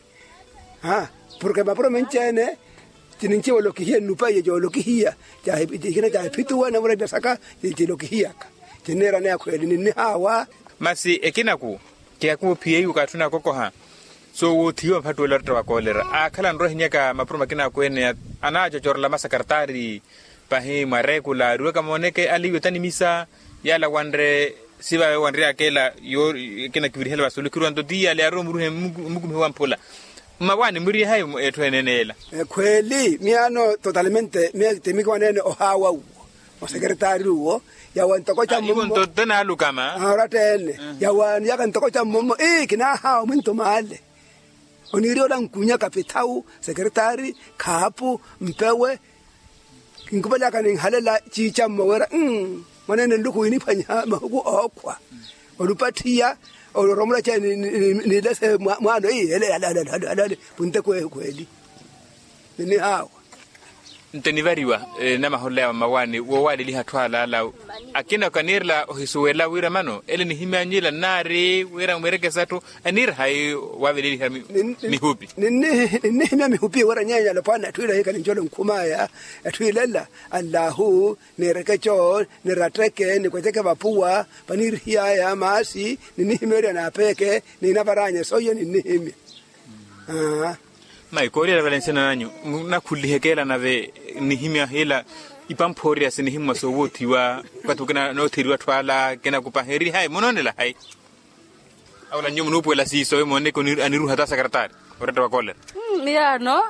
Porke mapuro menci-ene. Cininci wolokihiya nnupa iye coolokihiya. Ikina caahiphituwa navura ila saka. Cilokihiyaka cinniirana yakhweeli ninnihaawa. Masi ekinaku kiyakuwo phiyeiwaka atthu nakokoha. Soowoothiwa mphattuwela oretta wa koolera aakhala anrowa ehinyaka mapuro makinaku ene. Anaacocorela masakartaari pahi mwareekula ariwaka mooneke aliiwe tanimisa. Yaala wanre sivawe wanryaka ela. Ekina kivirihela vasulu khiruwa nto ti yaala yaarowa omuruhe mmukumihe wa mphula. Mmawaani murihayi etthu ene ene ela. Ekhweeli miyaano totalmente miya timikiwaneene ohaawa uwo. Osekeretaari uwo yawa ntoko cammommo. Nto tenaalukama oratta ene yawaaniyaka ntoko cammommo ii kinaahaawa mwinto maale. Oniiriya ola nkunya kapithawu sekeretaari khaapu mpewe. Kinkupelaka ninhalela ciicammo wira mwaneene nluku winiphwanyiha mahuku ookhwa. Olupathiya oloromolace nilese mwaano ii ele ale punte kweehu khweeli. Ninihaawa. Nto enivariwa namaholela ya vamawaani woowaaleliha atthu alaala. Akina kaniirela ohisuwela wira mano ele nihimyanyila nnaari wira mwirekesa atthu. Aniira hayi waaveleliha mihupi? Ninnihimya mihupi wira nyeenya alopwana atthu ila hikhala ncolo nkhumaya. Atthu ila ela allahu niireke co niratteke nikweceke vapuwa. Paniirihiyaya maasi ninnihimeerya naapeeke. Niinavaranya soiyo ninnihimya. Mayi kooliyala vale nsina nanyu. Nakhuliheke ela nave nihimya hila ipamphoorya sinihimmwa soowoothiwa. Okati ukina nootheriwa atthu ala kinakupaha eri hayi munoonela hayi? Awola nyuwo munuupuwela siiso emooneke aniruha ta sakarataari. Oretta wa koolera. Miyaano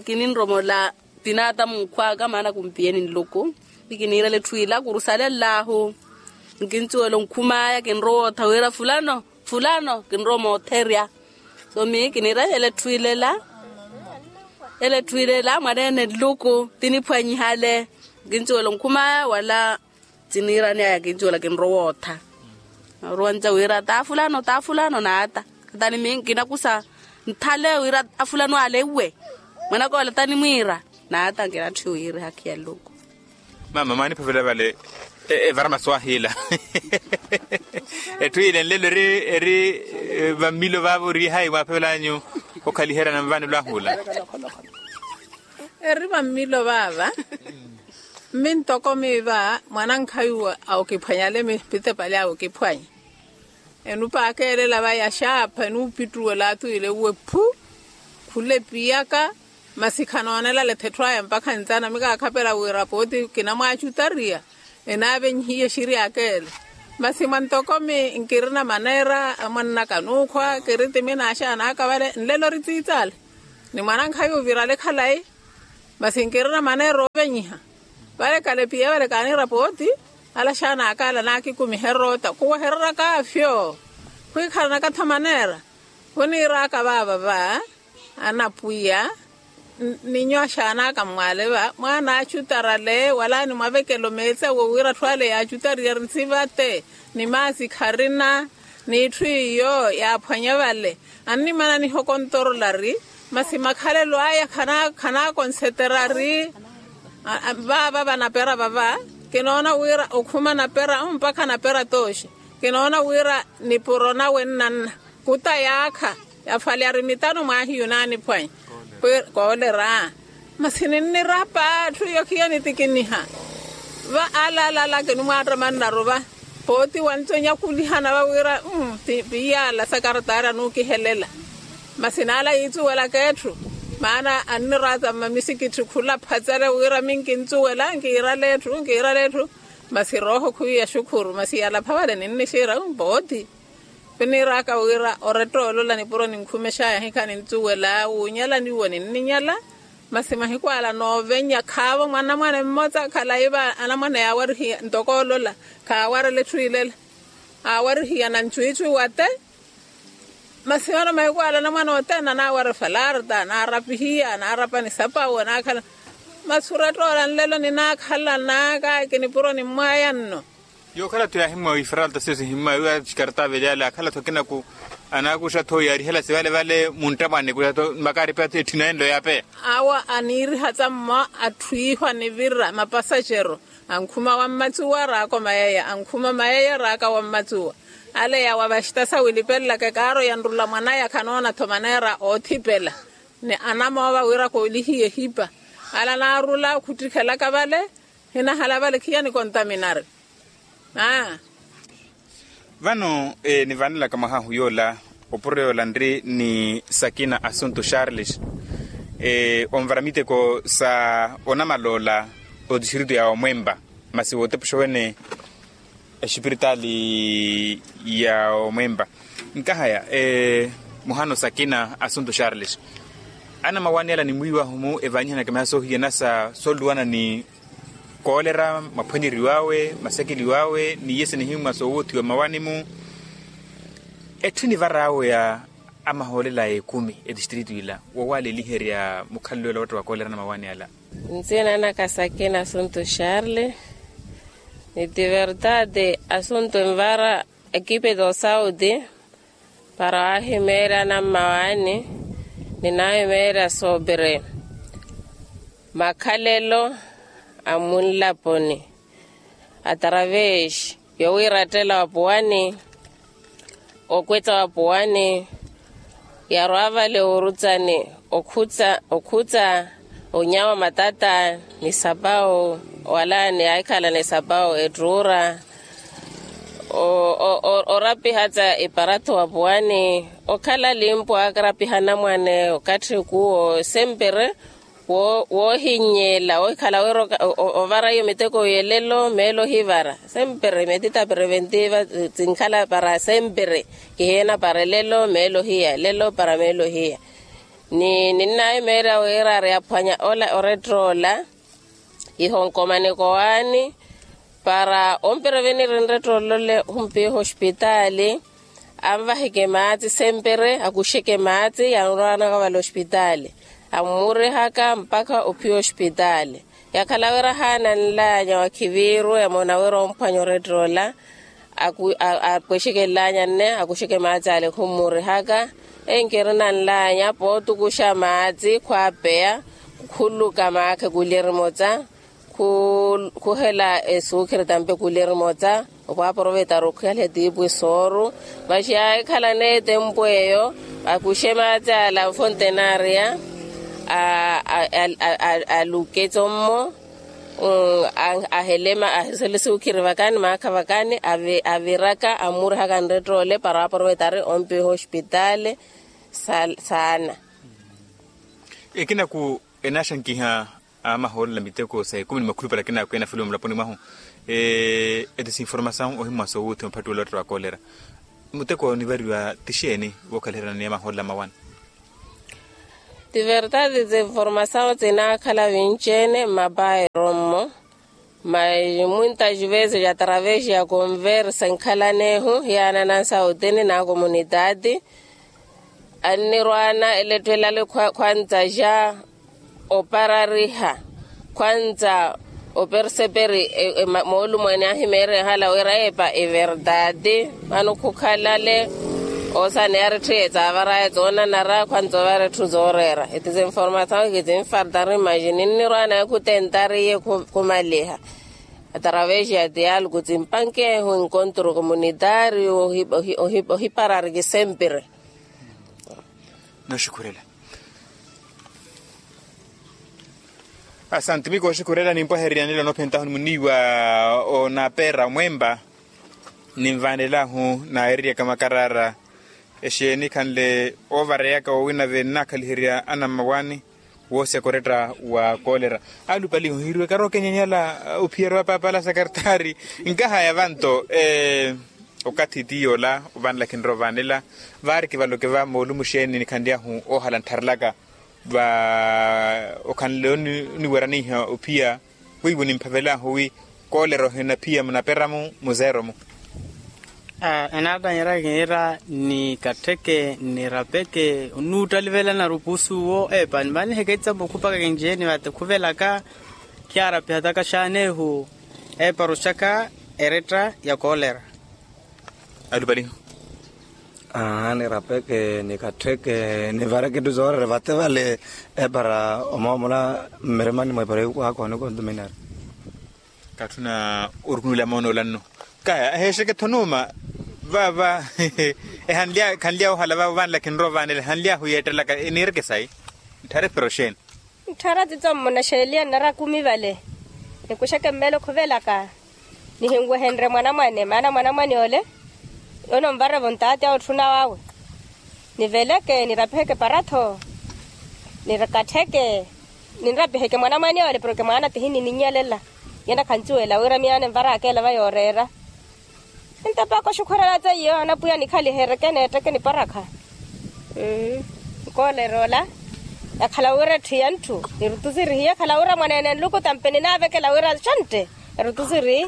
kininromola tinaata munkhw'aka maana kumpiyeni nluku. Ni kiniirela etthu ila kurusalellahu. Nkincuwela onkhum'aya kinrowa ottha wira fulano fulano kinrowa omootherya. So miyo kiniira ela etthu ila ela ela etthu ila ela mwaneene nluku tiniphwanyihale. Nkincuwela onkhum'aya wala tiniirani aya kincuwela kinrowa ottha. Naruwanca wira ta fulano ta fulano naata. Atani miyo nkinakusa nthale wira afulano ale iwe mwanaka ole tanimwiira. Naata nkinatthu wiiri hakhiya nluku. Mama mwaaniphavela vale evara masu ahiila. Etthu ile nlelo eri eri vammilo vaavo ori hayi mwaaphevelanyu okhaliherya na mvaanelo ahuula. Eri vammilo vaava. Mmi ntoko miiva mwanankhayi awokiphwanyale mipitepali awokiphwanya. Enupakeelela va yaxaapha enuupittuwela atuwile uwe phu. Khula epiyaka masi khanoonelale etthu aya mpakha ntsana mikaakhapela wira pooti kinamwaacutariya. Enaavenyihiye exiriyaka ele. Masi mwantokomi nkirina maneera amwannaka nuukhwa kiri timi n'axaana aka vale nlelo ori tsiitsala. Ni mwanankhaya ovirale khalayi. Masi nkirina maneera ovenyiha. Vale kalepiya vale kaaniira pooti. Ala axaana aka ala naakikumiherya otta khuwehereraka afyo. Khwikhalanaka-tho maneera. Khuniiraka vaava va anapwiya. Ninyo axaana aka mmwaale va mwaana acutarale wala nimwavekelo meetsi awo wira atthu ale yaacutariye ri nsivate. Ni maasi kharina. N'itthu iyo yaaphwanya vale. Annimana nihokontorola ri masi makhalelo aya khanaakonsetera ri. Vaava vanapera vava kinoona wira okhuma napera mpakha napera tooxi. Kinoona wira nipuro nawe nnanna kuta yaakha. Yafwalyari mitano mwahiyu naaniphwanya koolera. Masi ninnirapa atthu iyo khiya nitikiniha. Va ala ala ala kinimwaattamannaru va pooti wanto nyakulihana va wira. Piiyala sakartaari anuukihelela. Masi n'ala yiitsuwelaka etthu maana anniraata mmamisikitthi khula phatsale wira minkintsuwela nkiirale etthu nkiirale etthu. Masi rooho khuwiya xukhuru masi yalapha vale ninnixira pooti. Khuniiraka wira oretta olola nipuro ninkhumexaya hikha nintsuwela wuunyala niwo ninninyala. Masi mahiku ala noovenya khaavo mwanamwane mmotsa khalayi va anamwane yaawarihiya ntoko olola khaawarela etthu ilela. Aawarihiya na ncwiicwi wate. Masi vano mahiku ala anamwane othene anaawara efalarta anaarapihiya anaarapa ni sapawo anaakhala. Masi oretta ola nlelo ninaakhala naaka kinipuro nimmwaya nno. Yookhala-tho yaahimwa ifaralta siyo sihimmwa wiwa xikartaavelyaale akhala-tho akinaku. Anaakuxa-tho yaarihela sivale vale muntta mwaanikuxa-tho makaari peya-tho etthina enlo yaapeya. Awo aniiriha tsammo atthu iihwa nivira mapasaxero. Ankhuma wammatsuwa raako mayaya ankhuma mayaya raaka wammatsuwa. Ale yawa vaxita sawilipelelaka ekaaro yanrula mwanaya khanoona-tho maneera oothipela. Ni anamoova wira koolihiye ehipa. Ala naarula khuttikhelaka vale. Hinahala vale khiya nikontaminari. Aa. Vano nivanelaka mwahahu yoola opuro yoola nri ni sakina assunto charles. Onvara miteko sa onamaloola otistritu ya omwempa masi wootepuxa wene exipiritaali ya omwempa. Nkahaya muhano sakina assunto charles. Anamawaani ala nimwiiwahu-mu evanyihanaka miha soohiyana sa soluwana ni koolera maphwanyeriw'awe masekeliw'awe ni iye sinihimwa soowothiwa mmawaani-mu. Etthu enivar'awe ya amahoolela a ekumi etistritu ila wowaleliherya mukhalelo ela watta wa koolera na mawaani ala. Nsiina naka sakina assunto charles. Ni ti verdade assunto envara ekipe do sauti. Para waahimeerya anammawaani ninaahimeerya soopire makhalelo a munlaponi. Atravesi yowiirattela wa puwani okwetsa wa puwani yarwa vale orutsani okhutsa okhutsa onyawa matata ni sapawu wala ni ahikhala ni sapawu ettuura. Orapiha tsa eparato wa puwani okhala limpo aakarapiha anamwane okatthi kuwo sempere woohinyeela ohikhala wira ovara iyo miteko yelelo meelo ohivara sempere metita preventiiva. Sinkhala para sempere kihiena para elelo meelo ohiya elelo para meelo ohiya. Ni ninnahimeerya wira ari aphwanya ola orettola ihonkomaniko waani para ompira venirinre ttollole humpiha ospitaali. Anvaheke maatsi sempere akuxeke maatsi yanrwanaka vale ospitaali ammurihaka mpakha ophiya ospitaali. Yakhala wira haananlanya wakhiviiru emoona wira omphwanya orettola apwexeke nlaanya nne akuxeke maatsi ale khummurihaka. Enkirina nlaanya pootukuxa maatsi khwaapeya khuluka maakha kulya erimotsa khuhela esuukhiri tampe kulya erimotsa okhwaaporovetaru okhwihaliha tiipwi sooru. Maxi aahikhala n'etempu eyo akuxe maatsi ala mfontenaria aluketso mmo. Ahelema ahesele suukhiri vakani maakha vakani aviraka ammurihaka nrettoole para aprovetari ompiha ospitaali. Saana. Ekinaku enaxankiha Amahoolelo a miteko sa ekumi ni makhulupale akinaakwena filimu mulaponi mwahu. Eti sinformasawu ohimmwasa owuuthi mphattuwelo ottera wa kolera. Muteko nivariwa ti xeeni wookhaliheriwa ni amahoolelo a mawana? Ti vertati ti informasawu tinaakhala vinci-ene mmapairo mmo. Mas muintas vezes atravesi ya konversa enkhalana ehu hiyaananansa otini na komunitati. Annirwaana elettwelale khwantsa ja oparariha khwantsa operseperi moolumweene ahimeerehala wira eepa everdati. Vano khukhalale osaneya aritthi tsavaraya tsoonanara khwantsa ovara etthu zooreera. Eti sinformasawu kitinfartari mas ninnirwaana ekhutentariye khumaliha atravesi ya dialogu timpankehu enkontru komunitario. Ohiparari kisempiri. Noxukhurela. Asanti miko oxukhurela nimpwahereryanela onophentahu ni muniiwa onapera omwempa. Ninvanelahu naererya kamakarara exeeni khanle ovareyaka wowina vennaakhaliherya anammawaani. Woosya koretta wa kolera. Alupalihu hiriwe karookenyanyala. Ophiyerya wa paapala sakartaari. Nkahaya vanto okathi ti yoola ovanela khinrowa ovaanela. Vaari kivaloke va moolumu xeeni nikhanlyahu oohala nttharelaka va okhanle oniweraniha ophiya. Weiwo nimphavelahu wi kolera ohinaphiya munaperamu muzeeromu. Enaattanyerya kiira ni kattheke ni rapeke onuuttalivela narupusu wo eepa nimaniheke etsamo khupaka kinci-ene vate khuvelaka. Khiyaarapihataka xaanehu eepa roxaka eretta ya kolera. Alupalihu. Aa ni rapeke ni kattheke ni vareke etthu zoorere vate vale. Epara omoomola mmirimani mwa epara yukwaka onikontuminari. Katthuna orukunula moonoola nno. Kaya eheexeke-tho nuuma. Vaava ehanlya khanlya ohala vaava ovaanela khinrowa ovaanela ehanlyahu yeettelaka. Eniireke sayi ntthare epara oxeeni. Ntthara titso mmunaxeeliya nnara kumi vale. Nikuxeke mmeelo khuvelaka nihinwehenrye mwanamwane maana mwanamwane ole ononvarevo ntaati awe otthuna wawe. Niveleke nirapiheke para-tho nirkattheke ninrapiheke mwanamwane ole porke mwaana tihinininnyelela. Yena khancuwela wira miyaana envaraka ela va yooreera. Entapaka oxukhurela teiyo anapwiya nikhalihereke neetteke niparakha. Nkoolera ola yakhala wira etthu ya ntthu nirutusiri hiyo ekhala wira mwaneene nluku tampe ninaavekela wira xontte. Erutusiri.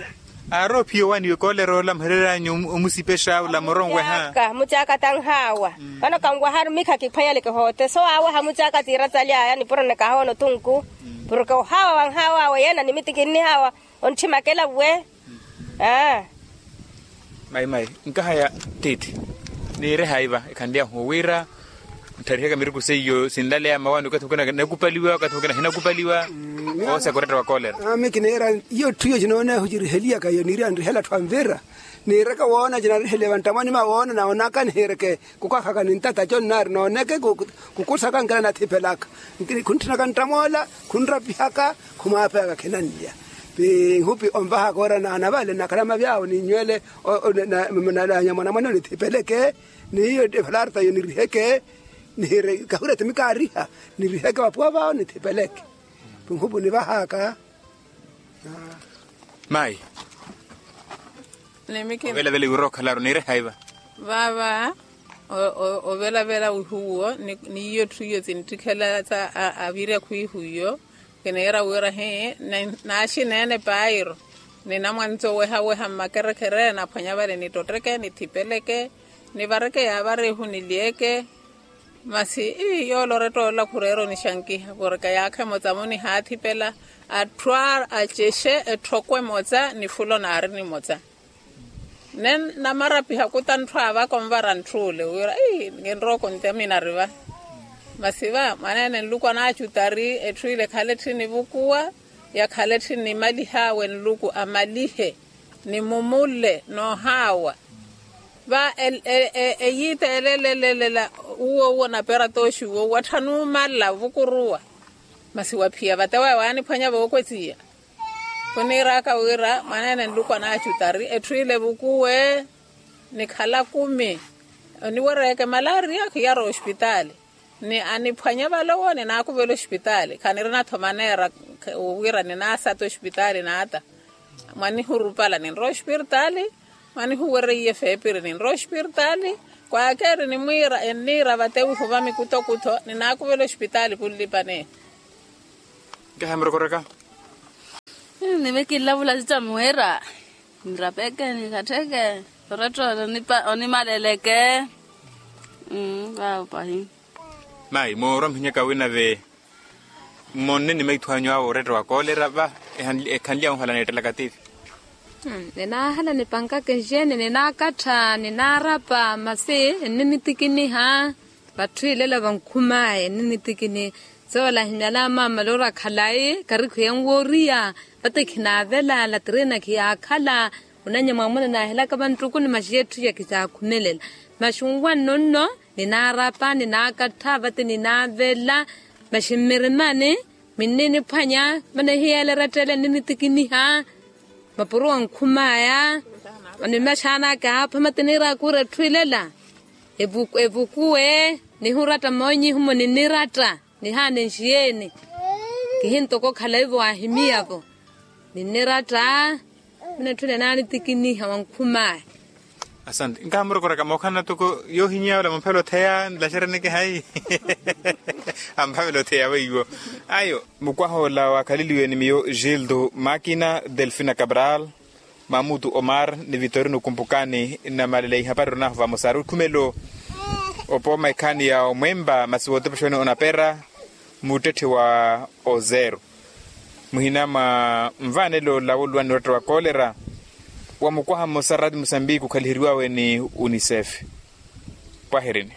Aari ophiya owaniwe koolera ola muhereryanyu omusipexa ola moronweha. Mucaaka tanhaawa. Vano kanwaharu mikha kiphwanyeleke hoote so aawaha mucaaka tiiratsali aya nipuro nikahoona otunku. Porke ohaawa wanhaawawe yeena nimiti kinnihaawa. Ontthimakela we. Aa. Mayi mayi nkahaya tiithi. Niirehaiva ekhanlyahu wira ntharihaka miruku seiyo sinlaleya mawaani okathi mukina nakupaliwa okathi mukina hinakupaliwa. Oosa koretta wa kolera. Ami kiniira iyo etthu iyo cinoonehu ciriheliyaka iyo niirya nrihela atthu anvira. Niiraka woona cinariheliya vanttamwani mawoona nawoonaka nihiireke. Kukakhaka nintata co nnaari nooneke kukusaka nkela nathipelaka. Khuntthunaka nttamoola khunrapihaka khumwaapeyaka khinanlya. Pi nhupi onvahaka ora naana vale nakhala mavyawo ninnywele. Nanya mwanamwane onithipeleke niyo evalarta yo niriheke. Nihire kahurya timi kaariha niriheke vapuwa vawo nithipeleke. Pi nhupi onivahaka. Mayi. Ovelavela iwira okhalaru niirehaiva. Vaava ovelavela wihuwo. Niyo etthu iyo tinttikhelatsa avirya khwiihu iyo. Kiniira wira hi naaxineene pairo. Ninamwanitsi owehaweha mmakerekere naphwanya vale nittotteke nithipeleke. Nivareke yaavarihu nilyeeke. Masi ii yooloretta ola khureera onixankiha porke yaakha emotsa-mo nihaathipela. Atthu acexe etthoko emotsa nifulo naari nimotsa. Nne namarapiha kuta ntthu aavaka onvara ntthu ole wira ii kinrowa okontamina ari va. Masi va mwaneene nluku anaacutari etthu ile ekhale etthi nivukuwa. Yakhale etthi nimalihawe nluku amalihe. Ni mumule noohaawa va eyiita elelelelela. Uwo uwo napera tooxi uwo watthanu omala ovukuruwa. Masi waphiya vate waya waaniphwanya vookwetiya. Khuniiraka wira mwaneene nluku anaacutari etthu ile evukuwe. Nikhala kumi oniwereyeke malaria khiyara ospitaali. Ni aniphwanya vale owo ninaakuvela ospitaali khanirina-tho maneera. Wira ninaasata ospitaali naata. Mwanihurupala ninrowa ospirtaali. Mwanihuwerya iye feepiri ninrowa ospirtaali. Kwaakeeri nimwiira enniira vatewihu vamikutokutho ninaakuvela ospitaali khunlipaneya. Nkahi murokoreka. Nive kinlavula sita muwira. Nrapeke nikattheke. Oretta onimaleleke. Vavo pahi. Mayi moorwa mhinyaka winave. Mmonne ni maithu anyu awo oretta wa koolera va ekhanlya onhala neettelaka tivi. Ninaahala nipankaka enxeeni ninaakattha ninaarapa masi enninitikiniha. Vatthu ilela vankhumaya enninitikiniha. Soola ahimyala amaamala ori akhalayi karikhu yenwooriya. Vate khinaavela latirina khiyaakhala. Onanya mwaamuna naahelaka vanttukuni maxi etthu ya khisaakhumelela. Maxi nwanno nno ninaarapa ninaakattha vate ninaavela. Maxi mmirimani minniniphwanya. Mane hiyeela eratta ele enninitikiniha. Mapuro wankhumaya. Ni maxaana akaapha mate niiraaka ori etthu ilela evukuwe. Nihuratta moonyihumo niniratta. Nihaana enxiyeeni. Kihintoko okhala ivo waahimiyavo. Ninniratta. Mune etthu ninaanitikiniha wankhumaya. Asante nkaha murokoraka mookhalana toko yoohinyiya ola mumphela otheya nlaxereneke hayi. Amphavela otheya weiwo. Ayo mukwaha ola waakhaleliwe ni miyo gildo makina delfina cabral, mamutu omar ni vitorino kumpukani. Nnamalele ihapari oronaahu vamosa ari okhumelo. Opooma ekhaani ya omwempa masi wootepexoni onapera muttetthe wa ozero. Muhina mwa nvaanelo ola wooluwani oratta wa koolera wa mukwaha mmosa rati musambiki okhaliheriwawe ni unicef. Pwahirini.